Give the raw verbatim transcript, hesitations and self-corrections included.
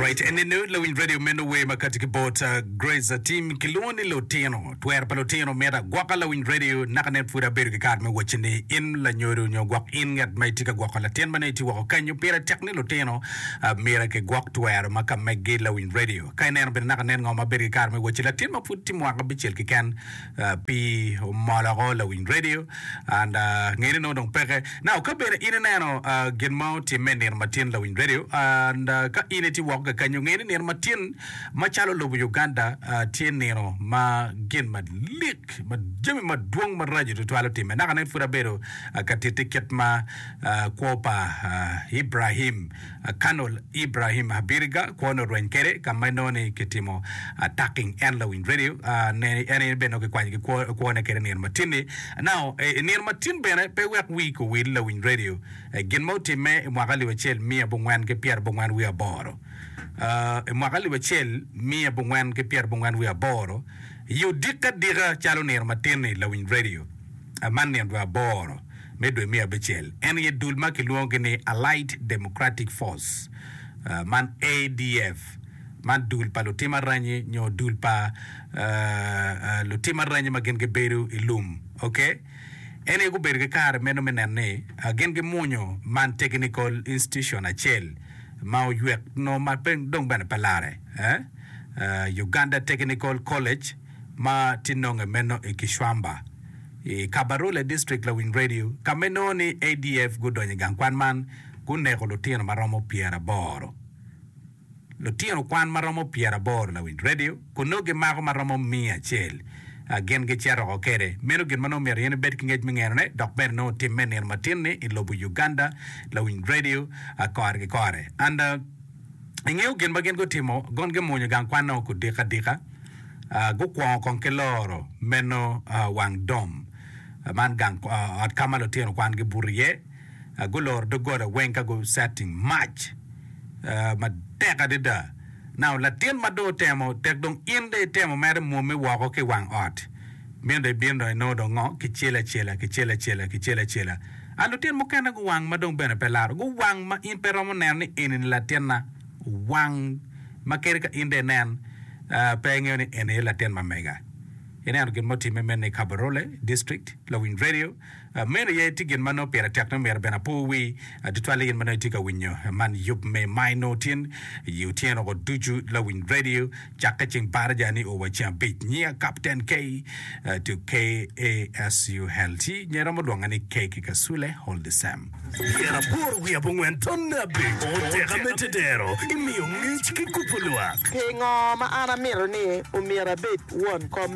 Alright, enenu lawiny radio meno wer ma kati ki bot uh, Grace Atim kilwongo ni lutino. Twero pa lutino mito agwoka lawiny radio naka nen pud abedo ki kare me wacci ni in lanyodo nyo gwok in ngat ma itye ka gwoko latin ma nongo itye woko kenyo pire tek ni lutino uh, myero kigwok twero ma ka meggi lawiny radio. Ka ineno bene naka nen ngo ma abedo ki kare me wacci latin ma pud tye mwaka abicel keken uh, pii omoloko lawiny radio and uh, ngene nongo dong peke. Now ka bene in ineno uh, gin ma otimme nino matin lawiny radio and uh, ka in itye woko kakenyo nge ni nino matin macalo lobo Uganda uh, tye nino ma gin malik ma jami madwong maraco tutwal otimme naka nen pud abedo uh, ka titti kit ma uh, kwo pa uh, Ibrahim uh, Colonel Ibrahim Abiriga kwone orweny kede ka ma inongo ni kitimo attacking en lawiny radio uh, ne en aye bene kikwanyo ki kwo kwone kede nino matin-ni now eh, nino matin bene pe wek wi kowil lawiny radio eh, gin ma otimme i mwaka alip acel miya abongwen ki pyera abongwen wiye aboro uh, i mwaka alip acel miya abongwen ki pyera abongwen wiye aboro i odiko adika calo nino matin-ni lawiny radio uh, man nino dwe aboro me dwe miya abicel en aye dul ma kilwongogi ni Allied Democratic Force uh, man A D F man dul pa lutim aranyi nyo dul pa uh, uh, lutim aranyi ma gin gibedo i lum okay en aye gubedo ki kare meno me neno ni uh, gin gimunyo man technical institution acel ma oywek no ma pe dong bene pe lare eh? uh, Uganda Technical College ma tye nonge meno i Kishwamba i Kabarole District lawiny radio ka ma inongo ni A D F gudonyo i gang kwan man guneko lutino ma romo pyeraboro lutino kwan ma romo pyeraboro lawiny radio kun nongo gimako ma romo miya acel uh, gin gicito oko kede meno gin ma nongo myero in ibed ki ngec me ngenone dok bene nongo otimme nino matin-ni i lobo Uganda lawiny radio uh, kore ki kore and uh, ingeo gin ma gin gutimo gon gimunyo gang kwan no kudiko adika uh, gukwongo kong ki loro meno uh, wang dom uh, man gang uh, ot ka ma lutino kwan gibuto iye uh, guloro doggola weng ka gu setting mac uh, matek adada now latin ma dong otemo tek dong in dong itemo mere mwomme woko ki wang ot meno dong ibino dong inongo dong ngo kicelo acela kicelo acela kicelo acela a lutino mukene guwang ma dong bene pe laro guwang ma in pe romo neno ni eni ni latinna wang ma kadi ka in dong inen uh, pe ingeo ni eni aye latin ma mega ineno gin ma otimme meno i Kabarole District lawiny radio uh, meno aye tye gin ma nongo pire tek ni myero bene apo wi uh, tutwal in ma nongo itye ka winyo man yub me maino tin i otyeno ko ducu lawiny radio cakke ceng baraja ni o wa ceng abic nyinga Captain K uh, to K A S U L T nye romo lwonga ni K ki Kasule hold the same. Pyeraboro wiye abongwen tonne abic oteka me tedero imiyo ngec ki kupo lwak. Pingo ma an amito ni omyero abed won kom.